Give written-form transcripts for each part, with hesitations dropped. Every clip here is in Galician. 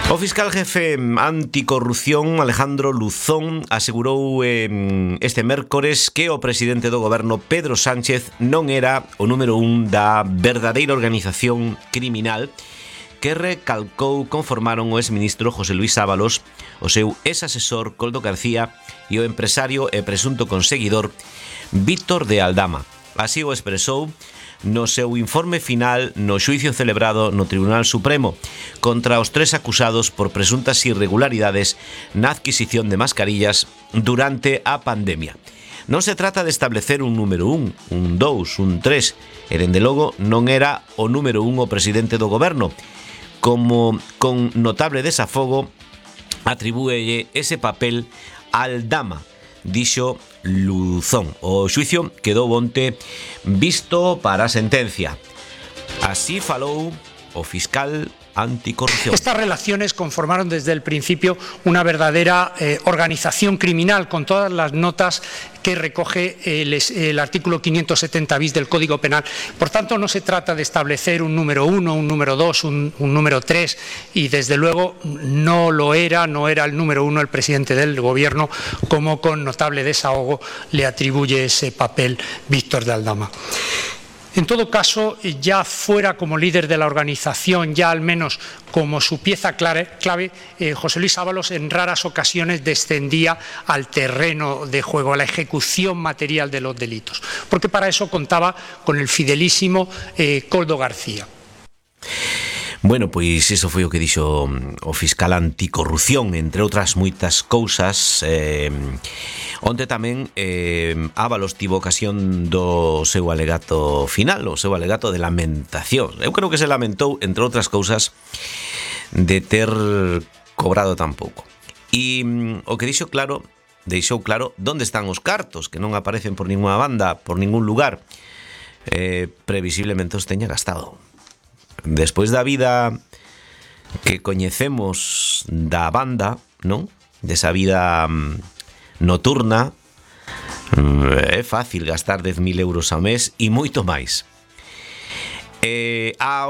O fiscal jefe anticorrupción Alejandro Luzón asegurou este mércores que o presidente do goberno Pedro Sánchez non era o número 1 da verdadeira organización criminal que recalcou conformaron o exministro José Luis Ábalos, o seu ex-asesor Koldo García e o empresario e presunto conseguidor Víctor de Aldama. Así o expresou no seu informe final no xuicio celebrado no Tribunal Supremo contra os 3 acusados por presuntas irregularidades na adquisición de mascarillas durante a pandemia. Non se trata de establecer un número 1, un 2, un 3, e dende logo non era o número 1 o presidente do goberno, como con notable desafogo atribúelle ese papel a Aldama, dixo Luzón. O xuicio quedou onte visto para a sentencia. Así falou o fiscal anticorrupción. Estas relaciones conformaron desde el principio una verdadera organización criminal, con todas las notas que recoge el artículo 570 bis del Código Penal. Por tanto, no se trata de establecer un número 1, un número 2, un número 3, y desde luego no era el número 1 el presidente del Gobierno, como con notable desahogo le atribuye ese papel Víctor de Aldama. En todo caso, ya fuera como líder de la organización, ya al menos como su pieza clave, José Luis Ábalos en raras ocasiones descendía al terreno de juego, a la ejecución material de los delitos, porque para eso contaba con el fidelísimo Koldo García. Bueno, pois iso foi o que dixo o fiscal anticorrupción, entre outras moitas cousas. Onte tamén Ábalos tivo ocasión do seu alegato final, o seu alegato de lamentación. Eu creo que se lamentou, entre outras cousas, de ter cobrado tan pouco. E o que deixou claro onde están os cartos, que non aparecen por ninguna banda, por ningún lugar. Previsiblemente os teña gastado. Despois da vida que coñecemos da banda, non? Desa vida noturna, é fácil gastar 10.000 euros ao mes e moito máis.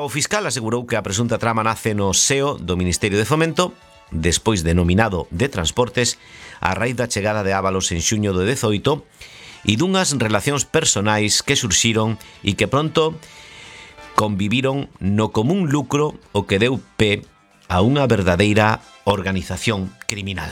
O fiscal asegurou que a presunta trama nace no seo do Ministerio de Fomento, despois denominado de Transportes, a raíz da chegada de Ábalos en xuño do 18 e dunhas relacións personais que surxiron e que pronto conviviron no común lucro o que deu pé a unha verdadeira organización criminal.